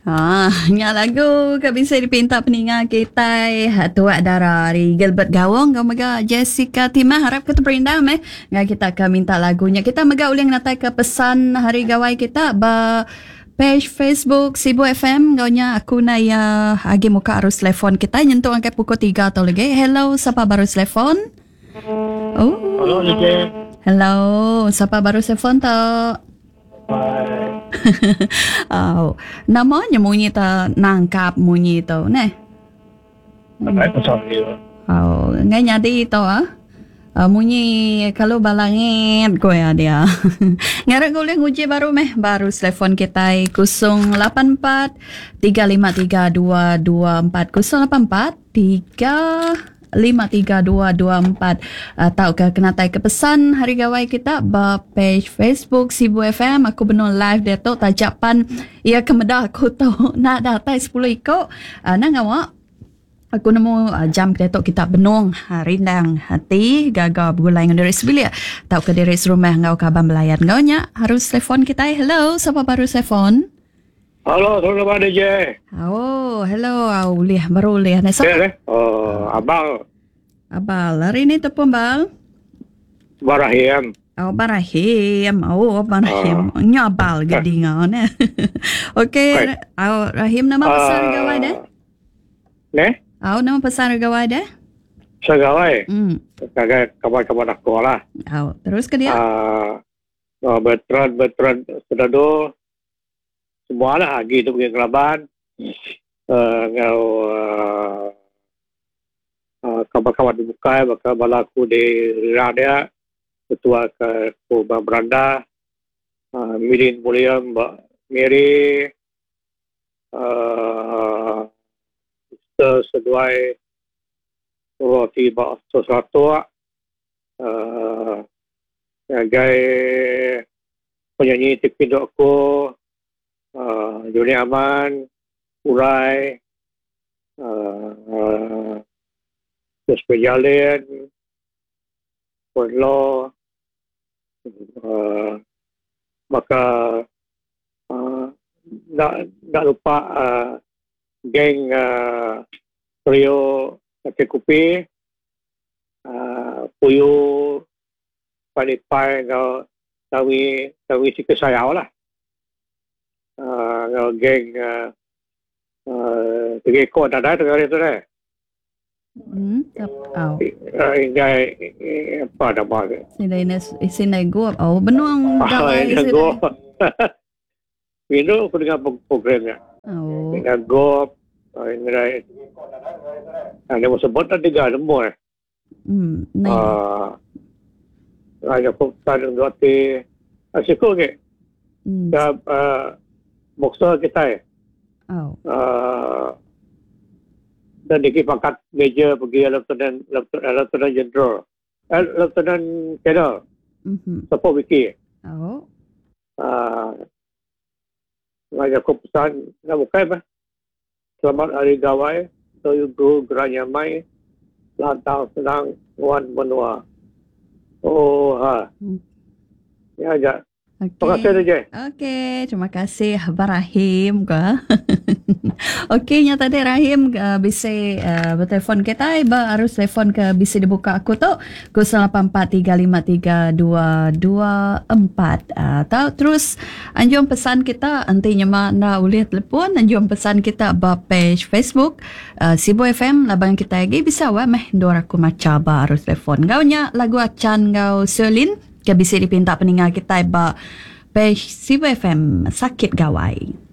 Ha, nya lagu ke bisi dipinta peninga kitai Tuak Dara ari Gilbert Gawong enggau mega Jessica Timah harap ke teperindang meh enggau kita ke minta lagu nya. Kita mega ulih ngenatai ke pesan hari gawai kita ba page Facebook Sibu FM enggau nya aku na iya agi muka arus telefon kita nyentuk ngagai pukul 3 tau lagi. Hello, sapa baru telefon? Oh. Hello, DJ. Hello, sapa baru telefon tu? Au. Nama nya munyi ta nangkap munyi tu neh. Nadai pasal dia. Au, ngai nyadi tu ah. Uh, munyi kalau balangit ko ya dia. Ngarap ko ulih nguji baru meh baru telefon kitai 084 353 224 084 3 53224 tauka kenatai ke pesan Hari Gawai kita ba page Facebook Sibu FM. Aku benung live diatu taja pan iya ke meda aku tu enda datai 10 iko. Nang ngawa aku nemu jam ke diatu kita benung rindang ati gaga begulai enggau diri sebilik tauka diri serumah enggau kaban belayan. Enggau nya harus telefon kitai. Hello, sapa baru telefon? Halo, selamat DJ. Oh, hello. Au ulih baru ulih. Nah, so, eh, oh, abang. Abal. Hari ni tepung bal. Barahim. Oh, Barahim. Oh, Barahim. Oh. Nya abal ge dinga ne. Okey, oh, Rahim nama pasal uh, gawai deh? Ne? Oh, nama pasal gawai deh? Segawai. Kagai kawan-kawan aku lah. Oh, terus ke dia? Uh, Bertrand, Bertrand, Sedado, Semua lah agi tu mungkin ngelaban enggau uhh kaban-kaban ti bukai baka bala aku di ira dia ketua ke ku ba beranda uhh Midin William ba Miri uhh Mister seduai Roti ba Seratok uhh ngagai Penyanyi ti pindu aku uhh Juni Aman, Urai uhh Jasper Jalin, Puan Lo uhh baka uhh enda enda lupa uhh geng uhh trio Kaki Kupi uhh Puyu Palipai enggau Tawi Tawi Sika Sayau lah uhh enggau geng uhh tiga iko nadai tu hari tu deh. Enggai apa nama tu. Sida ina sida gup oh benung gawai sida. Rindu ku dengar program nya. Oh. Dengar gup enggai nama sebut tiga nemu eh. Hmm. Nai. Ah. Ai aku tan enggau ti ah, siku agi. Hmm. Ka uh, boxer kitai. Oh. Uh, dan diki pangkat major pergi lieutenant lieutenant, lieutenant general. Eh, lieutenant colonel. Mhm. Support wiki. Oh. Ah. Uh, aku pesan nak bukai bah. Selamat Hari Gawai Toyugu Gerai Nyamai Lantang Senang Nguan Menua. Ooha. Nya aja. Okey. Terima kasih DJ. Okey, terima kasih Abang Rahim ke. Okey, nya tadi Rahim uh, bisi uh, bertelefon kitai ba arus telefon ke bisi dibuka aku tu 0843532224. Uh, tau terus Anjung pesan kita enti nyema enda ulih telepon anjung pesan kita ba page Facebook Sibu FM laban kitai agi bisa weh meh endur aku macha ba arus telefon. Enggau nya lagu Achan enggau Sherlyn ke bisi dipinta peninga kitai ba page Sibu FM Sakit Gawai.